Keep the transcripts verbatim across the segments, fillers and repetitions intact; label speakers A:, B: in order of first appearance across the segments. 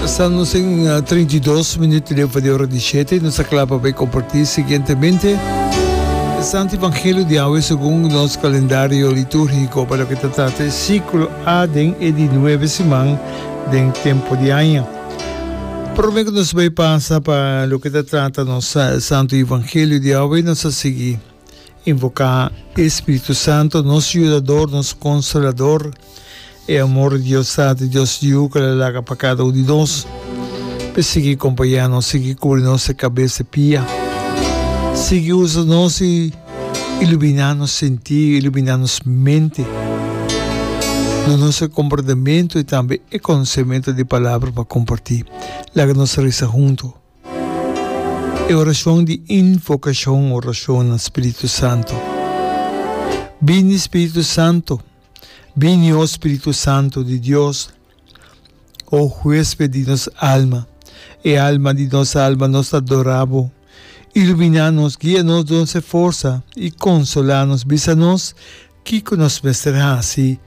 A: Sta nos en trinta i dos minuut leu di ora di shete. Nos ta kla pa bai kompartí siguientemente e Santo Evangelio di awe segun nos kalendario litúrgiko pa loke ta trata e siklo A den e di nuebe siman den tempu di aña. Promé ku nos bai pasa pa loke ta trata nos Santo Evangelio di awe, nos ta sigui invoká e Spiritu Santo, nos Yudador, nos Konsolador. E amor di Dios Tata i Dios Yu ku el a laga pa kada un di nos, p'e sigui kompañá nos, sigui kubri nos e kabes e pia, sigui usa nos i iluminá nos sentido, iluminá nos mente, duna nos e komportamentu i tambe e konosementu di Palabra pa kompartí. Laga nos resa huntu e orashon di invokashon, orashon na Spiritu Santu. Bini Spiritu Santu. Bini, o Spiritu Santu di Dios, o huésped di nos alma, e alma di nos alma, nos ta adorá bo. Iluminá nos, guia nos, duna nos e forsa i konsolá nos. Bisa nos kiko nos mester hasi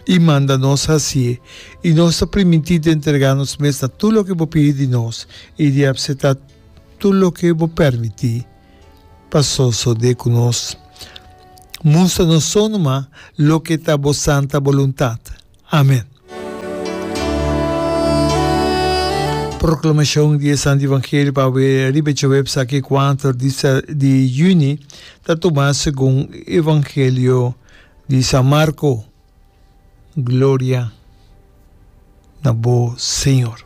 A: i manda nos hasié, i nos ta primintí di entregá nos mes na tur loke bo pidi di nos i di apseptá tur loke bo permití. Pa sosodé ku nos. Mustra nos so numa loke ta bo santa boluntat. Amen. Proklamashon di e Santu Evangelio pa awe riba e djaweps aki kuater di di yüni ta tuma segun Evangelio di San Marko. Gloria na bo Señor.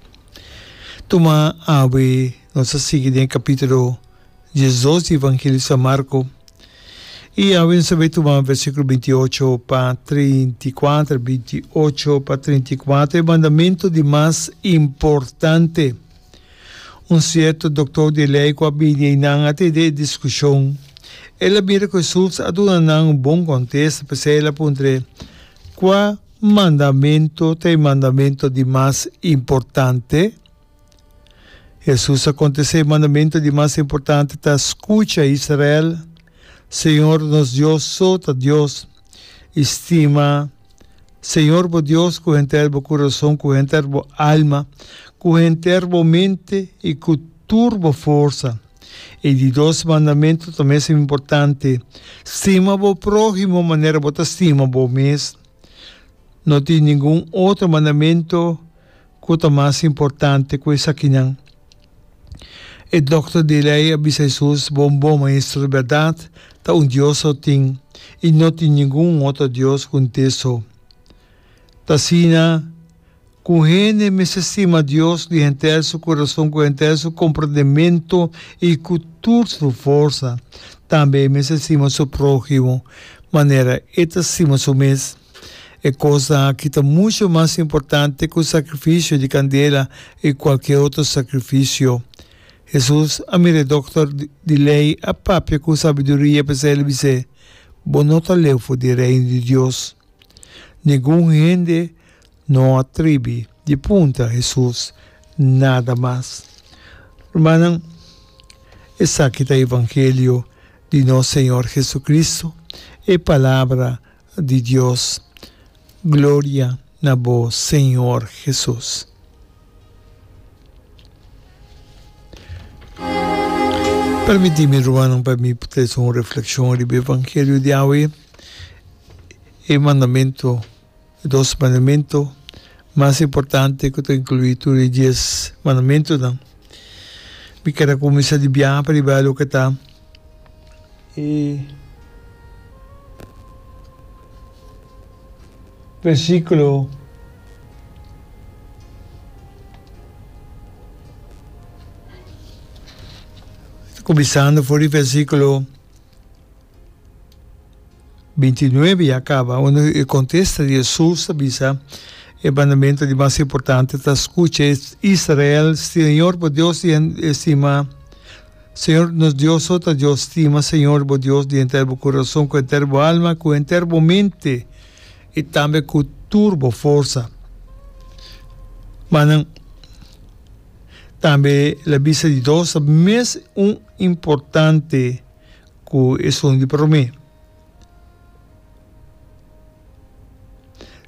A: Tuma awe nos ta sigui den e kapítulo diesdos di Evangelio di San Marko i awe nos ta bai tuma versíkulo binti i ocho pa trinta i kuater, binti i ocho pa trinta i kuater, e mandamentu di mas importante. Un sierto doktor di lei ku a bini einan a tende e diskushon. El a mira ku Hesus a duna nan un bon kontesta, p'esei el a puntr'é, Kua mandamentu ta e mandamentu di mas importante? Hesus a kontest'é, E mandamentu di mas importante ta, Skucha, Israel, Señor nos Dios so ta Dios, i stima Señor bo Dios ku henter bo kurason, ku henter bo alma, ku henter bo mente i ku tur bo forsa. E di dos mandamentu ta mes importante, Stima bo próhimo manera bo ta stima bo mes. No tin ningun otro mandamentu ku ta mas importante ku esakinan. E dòkter di lei a bisa Hesus, Bon bo, Maestro, bèrdat ta un Dios so tin, i no tin ningun otro Dios ku n'te so. Ta asina ku hende mester stima Dios di henter su kurason, ku henter su komprendementu i ku tur su forsa. Tambe e mester stima su próhimo manera e ta stima su mes. E kosnan aki ta muchu mas importante ku sakrifisio di kandela i kualke otro sakrifisio. Hesus a mira e dòkter di lei a papia ku sabiduria, p'esei el a bis'é, Bo no ta leu for di Reino di Dios. Ningun hende no a tribi di puntra Hesus nada mas. Rumannan, esaki ta evangelio di nos Señor Jesucristo, e palabra di Dios. Gloria na bo Señor Jesus. Permiti mi rumannan pa mi trese un reflexion riba evangelio di awe, e mandamento, e dos mandamento mas importante ku ta inclui tur e dies mandamentonan. Mi kier a cuminsa di biaha pa riba loke ta E versíkulo kuminsando for di versíkulo binti i nuebe ya kaba unda e kontesta di Hesus ta bisa e mandamentu di mas importante ta skucha Israel, Señor bo Dios stima. Señor nos Dios so ta Dios stima Señor bo Dios di henter bo kurason ku henter bo alma ku henter bo mente i tambe ku tur bo forsa. Manan tambe el a bisa di dos ta mes un importante ku esun di promé.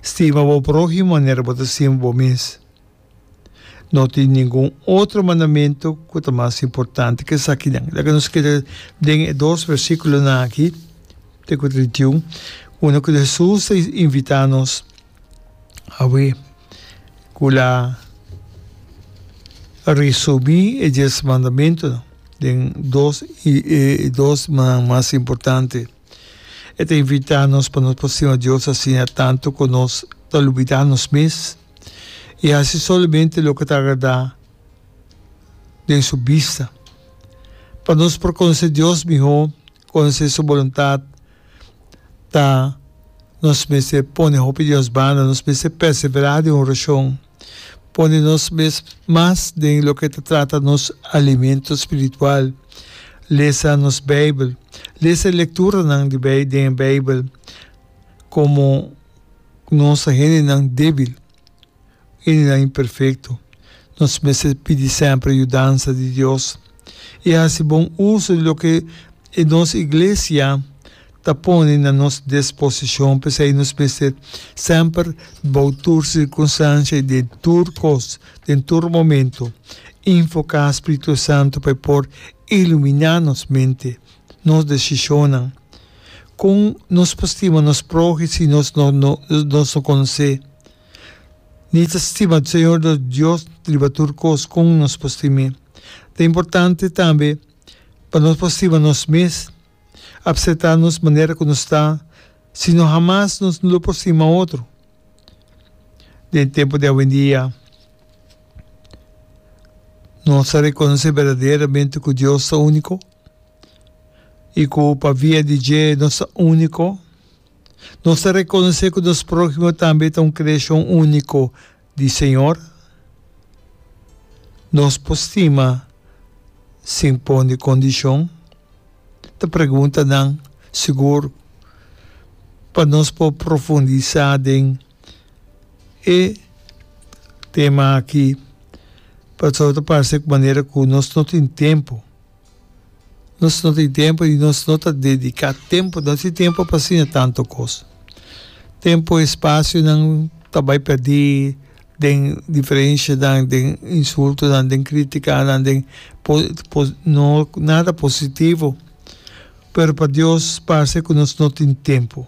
A: Stima bo próhimo manera bo ta stima bo mes. No tin ningun otro mandamentu ku ta mas importante ku esakinan. Laga nos keda den e dos versíkulonan aki, te ku trinta i un, unda ku Hesus ta invitá nos awe ku la resumí e dies mandamentunan den dos e dos mas importante. E ta invitá nos pa nos por stima Dios asina tantu ku nos ta lubidá nos mes i hasi solamente loke ta agradá den su bista. Pa nos por konosé Dios mihó, konosé su boluntat, ta nos mester pone hopi di nos banda, nos mester perseverá den orashon, pone nos mes mas den loke ta trata nos alimento spiritual, lesa nos Beibel, lesa e lekturanan di den e Beibel komo nos ta hendenan débil. Hendenan imperfekto, nos mester pidi semper yudansa di Dios i hasi bon uso di loke e nos iglesia ta pone na nos disposishon. P'esei nos mester semper bou tur sirkunstansia i den tur kos, den tur momento, invoká Spiritu Santu pa e por iluminá nos mente, nos desishonnan. Kon nos por stima nos próhimo si nos no nos no konosé? Ni ta stima Señor nos Dios riba tur kos kon nos por stim'é. Ta importante tambe pa nos por stima nos mes, apseptá nos manera ku nos ta, sino hamas nos lo por stima otro. Den tempu di awendia nos ta rekonosé berdaderamente ku Dios ta úniko i ku pa via di dje nos ta úniko. Nos ta rekonosé ku nos próhimo tambe ta un kreashon úniko di Señor? Nos por stima sin pone kondishon? Ta preguntanan sigur pa nos por profundisá den e tema aki, pasobra ta parse manera ku nos no tin tempu. Nos no tin tempu i nos no ta dediká tempu, no tin tempu pa asina tantu kos. Tempu, espasionan ta bai pèrdí den diferenshanan, den insultonan, den krítikanan, den no nada positivo. Pero pa Dios parse ku nos no tin tempu,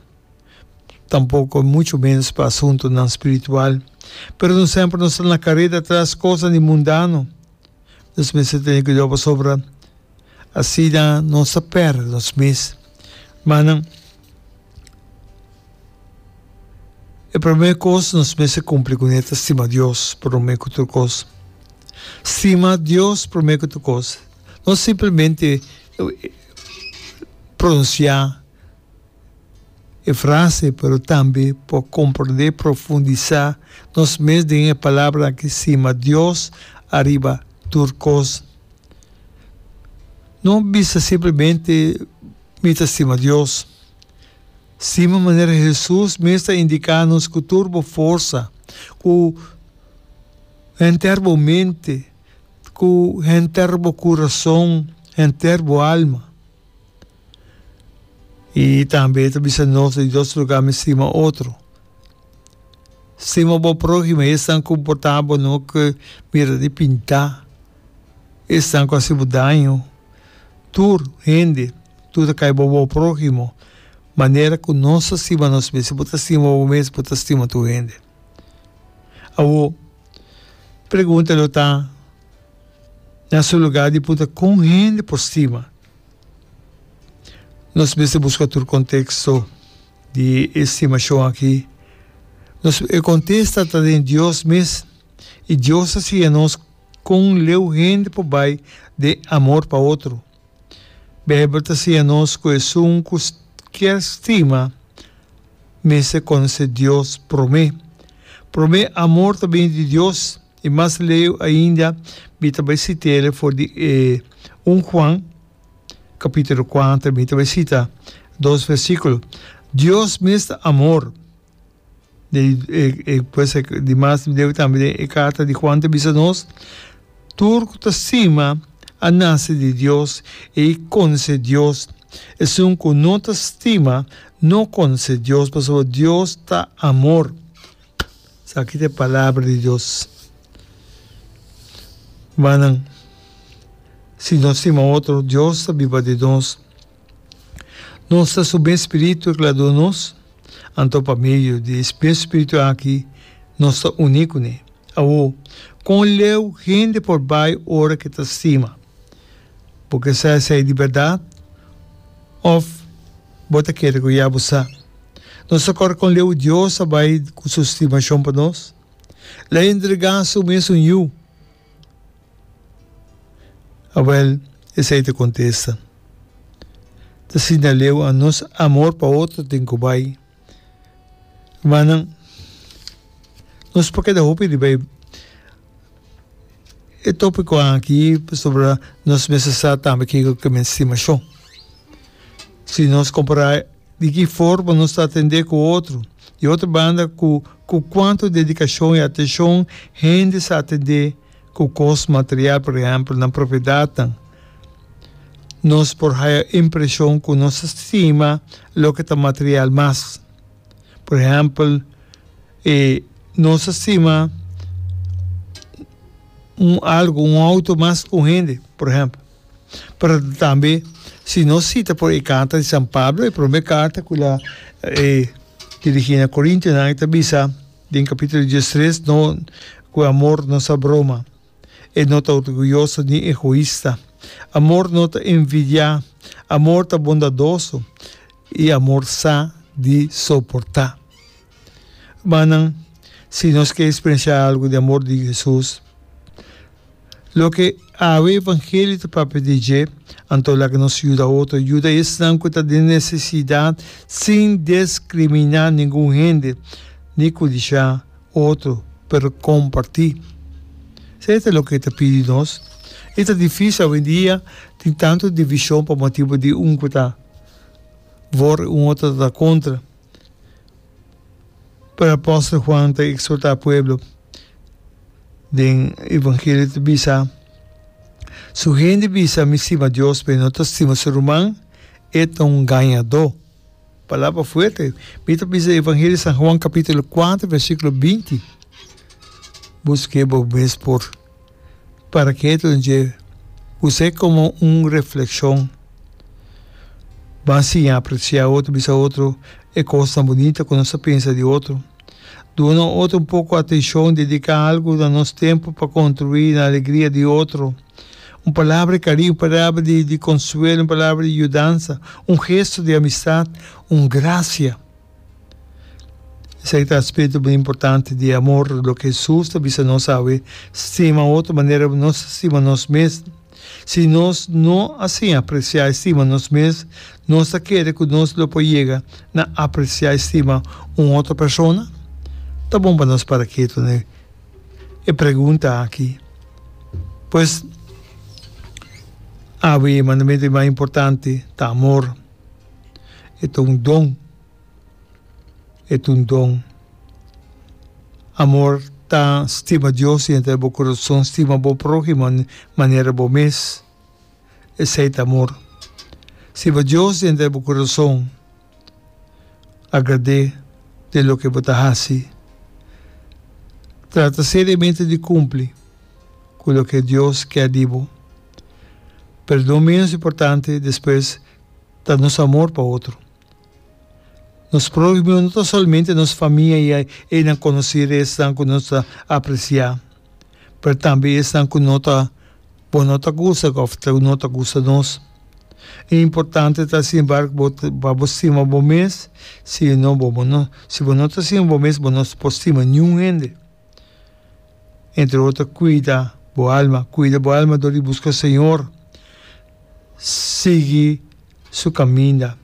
A: tampoko muchu ménos pa asuntunan spiritual. Pero nos semper nos ta na kareda tras kosnan di mundano. Nos mester tene kuidou pasobra asina nos ta pèrdè nos mes. Manan, e promé kos nos mester kumpli kuné ta stima Dios promé ku tur kos. Stima Dios promé ku tur kos. No simplemente pronunsiá e frase, pero tambe por komprondé, profundisá nos mes den e palabra aki, stima Dios ariba tur kos. No bisa simplemente mi ta stima Dios. Stima manera Hesus mes ta indiká nos ku tur bo forsa, ku henter bo mente, ku henter bo kurason, henter bo alma. I tambe e ta bisa nos di dos lugá mi stima otro. Stima bo próhimo, esnan ku por ta bo no ke mira di pintá, esnan ku hasi bo daño. Tur hende, tur ta kai bo bo próhimo. Manera ku nos ta stima nos mes, si bo ta stima bo mes, bo ta stima tur hende. Awor, pregunta lo ta na su lugá di puntra kon hende por stima? Nos mester buska tur konteksto di e stimashon aki. Nos e kontesta ta den Dios mes, i Dios a siña nos kon leu hende por bai den amor pa otro. Beibel ta siña nos ku esun ku kier stima mester konosé Dios promé. Promé amor ta bini di Dios, i mas leu ainda mi ta bai sit'el for di e un Juan kapítulo kuater, mi ta bai sita dos versíkulo. Dios mes ta amor. De, pues, di mas leu tambe den e karta di Juan ta bisa nos, Tur ku ta stima a nase di Dios i konosé Dios. Esun ku no ta stima no konosé Dios, pasobra Dios ta amor. Esaki ta e palabra di Dios. Rumannan, si nos stima otro, Dios ta biba den nos. Nos ta su mes spiritu ku el a duna nos, anto pa medio di e mes spiritu aki nos ta uní kuné. Awor, kon leu hende por bai ora ku e ta stima? Bo ke sa esei di bèrdat òf bo ta kere ku ya bo sa? Nos ta kòrda kon leu Dios a bai ku su stimashon pa nos? El a entregá su mesun Yu. Awèl, esei ta kontesta. Ta asina leu a nos amor pa otro tin ku bai. Rumannan, nos por keda hopi riba e e tópiko aki pasobra nos mester sa tambe kiko ke men stimashon. Si nos kompará di ki forma nos ta atendé ku otro, di otro banda ku ku kuantu dedikashon i atenshon hende sa atendé ku kos material, por ehèmpel nan propiedatnan, nos por haya impreshon ku nos ta stima loke ta material mas. Por ehèmpel, e nos ta stima un algu, un outo mas ku un hende, por ehèmpel. Pero tambe si nos sita por e karta di San Pablo, e promé karta ku el a dirigí na Korintionan, e ta bisa den kapítulo diestres, no ku amor no sa broma. E no ta orguyoso ni egoista. Amor no ta envidiá. Amor ta bondadoso i amor sa di soportá. Rumannan, si nos ke eksperensiá algu di amor di Hesus, loke awe evangelio ta papia di dje, anto laga nos yuda otro, yuda esnan ku ta den nesesidat sin deskriminá ningun hende ni kudishá otro, pero kompartí. Esei ta loke e ta pidi nos. I ta difísil awendia, tin tantu divishon pa motibu di un ku ta voor i un otro ta kontra. Pero apòstel Juan ta eksortá pueblo den evangelio ta bisa, Su hende bisa mi stima Dios, pero e no ta stima su ruman, e ta un gañadó. Palabra fuerte. Mi ta bisa Evangelio di San Juan capítulo kuater versículo binti. Busk'é bo mes por para ketu den dje. Us'é komo un reflekshon. Ban siña apresiá otro, bisa otro e kosnan bunita ku nos ta pensa di otro. Duna otro un poko atenshon, dediká algu na nos tempu pa kontribuí na alegria di otro. Un palabra di kariño, un palabra di di konsuelo, un palabra di yudansa, un gesto di amistat, un grasia. Esaki ta aspekto muy importante di amor, loke Hesus ta bisa nos awe, stima otro manera nos ta stima nos mes. Si nos no a siña apresiá i stima nos mes, nos ta kere ku nos lo por yega na apresiá i stima un otro persona? Ta bon pa nos para ketu na e pregunta aki. Pues, awe e mandamentu di mas importante ta amor. E ta un don. E ta un don. Amor ta stima Dios i henter bo kurason, stima bo próhimo manera bo mes. Esei ta amor. Stima Dios di henter bo kurason, agrad'é den loke bo ta hasi. Trata seriamente di kumpli ku loke Dios kier di bo. Pero no ménos importante despues ta nos amor pa otro. Nos próhimo no ta solamente nos famia i einan konosí esnan ku nos ta apresiá, pero tambe esnan ku no ta bo no ta gusta òf no ta gusta nos. E importante ta sin embargo bo pa bo stima bo mes, si no bo bo no si bo no ta stima bo mes bo no por stima niun hende. Entre otro kuida bo alma, kuida bo alma dor di buska Señor, sigui su kaminda.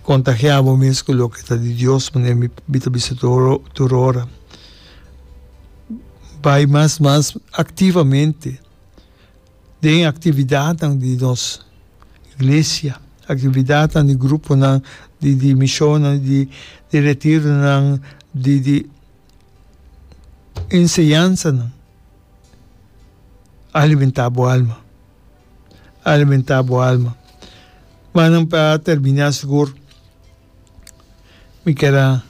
A: Kontagiá bo mes ku loke ta di Dios, manera mi ta bisa tur ora. Bai mas mas aktivamente den aktividatnan di nos iglesia, aktividatnan di gruponan, di di mishonnan, di di retironan, di di enseñansanan. Alimentá bo alma. Alimentá bo alma. Manan pa terminá sigur mi kier a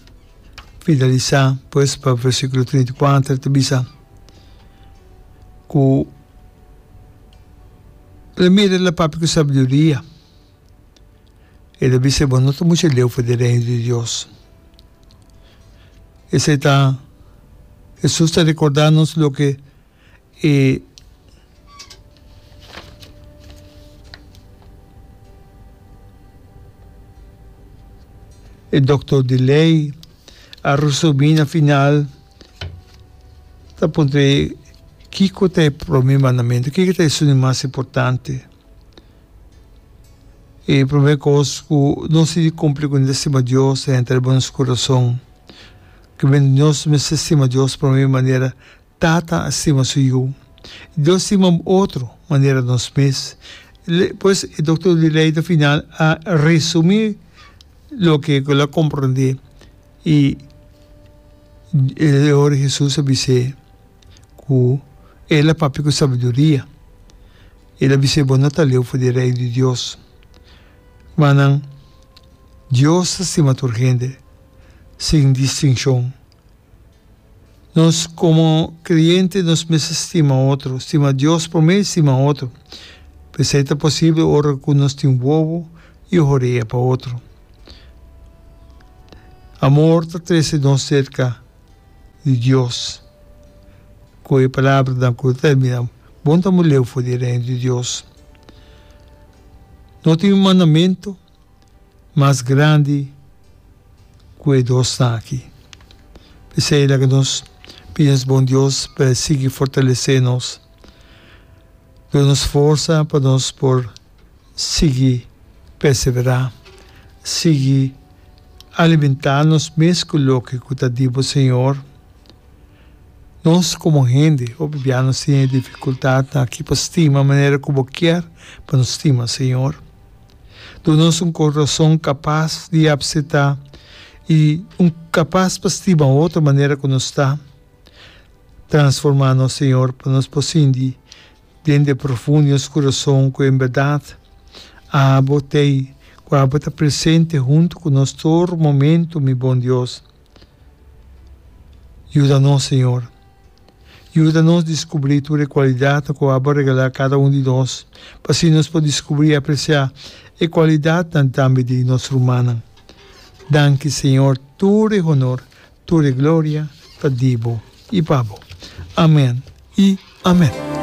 A: finalisá pues pa versíkulo trinta i kuater ta bisa, Ku el a mira el a papia ku sabiduria. El a bisa, Bo no ta mucha leu for di Reino di Dios. Esei ta, Hesus ta rekordá nos loke e E doktor di lei a resumí na final ta puntra kiko ta e promé mandamentu, kiko ta esun di mas importante. E promé kos ku nos tin di kumpli ku ta stima Dios ta henter riba nos kurason. Ku nos mester stima Dios promé manera Tata a stima su yu. Dios stima otro manera nos mes. Pues e doktor di lei ta final a resumí loke ku el a komprondé i e ora Hesus a bis'é ku el a papia ku sabiduria. El a bis'é, Bo no ta leu for di e Reino di Dios. Rumannan, Dios ta stima tur hende sin distinshon. Nos komo kreyente nos mester stima otro, stima Dios promé i stima otro. P'esei ta posibel ora ku nos tin wowo i horea pa otro. Amor ta trese nos serka di Dios. Ku e palabranan ku ta terminá, Bon ta muri leu for di e Reino di Dios. No tin un mandamentu mas grandi ku e dosnan aki. P'esei laga nos pidi nos bon Dios pa e sigui fortalesé nos, duna nos forsa pa nos por sigui perseverá, sigui alimentá nos mes ku loke ku ta di bo Señor. Nos komo hende hopi bia nos tin e difikultatnan aki pa stima manera ku bo kier pa nos stima Señor. Duna nos un kurason kapas di apseptá i un kapas pa stima otro manera ku nos ta. Transformá nos, Señor, pa nos por sinti den de profundo di nos kurason ku en bèrdat Abo t'ei, ku Abo ta presente huntu ku nos tur momentu, mi bon Dios. Yuda nos, Señor. Yuda nos diskubrí tur e kualidatnan ku abo a regalá kada un di nos, pa asina nos por diskubrí i apresiá e kualidatnan tambe di nos rumannan. Danki, Señor, tur e honor, tur e gloria ta di bo i pa bo. Amen i amen.